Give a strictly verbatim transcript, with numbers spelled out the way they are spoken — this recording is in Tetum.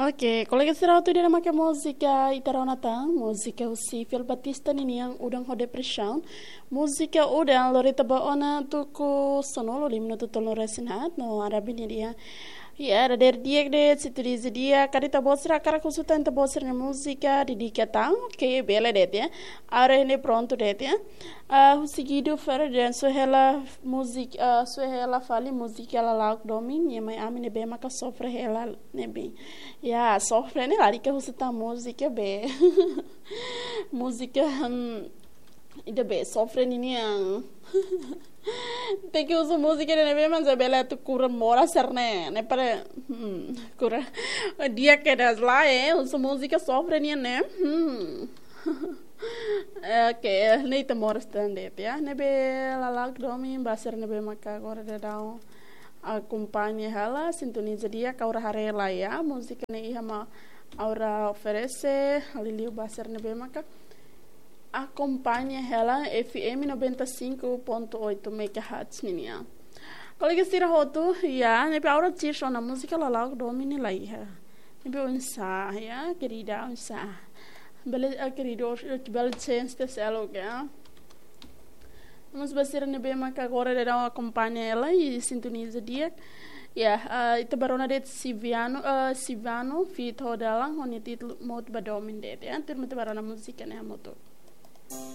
Oke, kolega sira hotu, ida-ne'e maka múzika ita rona tan, múzika husi Fil Batista ninian, Udan ho Depresaun. Múzika Udan lori ita ba ona tuku sanulu, lima minutu tolunulu-resin-haat, no ha'u haree ne'e di'ak. Ya, dadeer di'ak de'it, sintoniza di'ak, karik ita-boot sira hakarak husu tan ita-boot sira-nia múzika, dedika tan, oke, bele de'it ya. Ha'u haree ne'e prontu de'it ya. Ah, husi Guido Ferdinand, sue hela múzika, ah, sue hela fali múzika Lala'ok Domin, nia mai ami ne'ebé maka sofre hela ne'ebé. Ya, sofre ne'e lalika husu tan múzika be. Múzika, hmm, ida be, sofre ninian. Tenke husu múzika ne'ebé mak bele atu kura moras sira-ne'e, ne'e para, hmm, kura. Di'ak kedas lae, husu múzika sofre nian ne'e. Hmm. Oke, ne'e ita moras tan de'it ya. Ne'ebé Lala'ok Domin, ba sira ne'ebé maka agora daudaun akompaña hela, sintoniza di'ak, ha'u haree lai ya. Múzika ne'e iha mak ha'u oferese, liuliu ba sira ne'ebé maka akompaña hela F M noventa e cinco ponto oito megahertz ninian. Kolega sira hotu, ya, ne'ebé ha'u haree sira-nia múzika Lala'ok Domin ne'e la iha. Ne'ebé oinsá, ya, querida, oinsá. Bele, ah, querido, bele chance de ser algo, ya. Mas ba sira ne'ebé maka agora daudaun akompaña hela i sintoniza di'ak. Ya, ah, ita bá rona de'it Siviano, ah, Sivano, feat Ho Dalan, ho nia títulu Mout ba Domin de'it, ya. Tuirmai ita bá rona múzika ne'e hamutuk.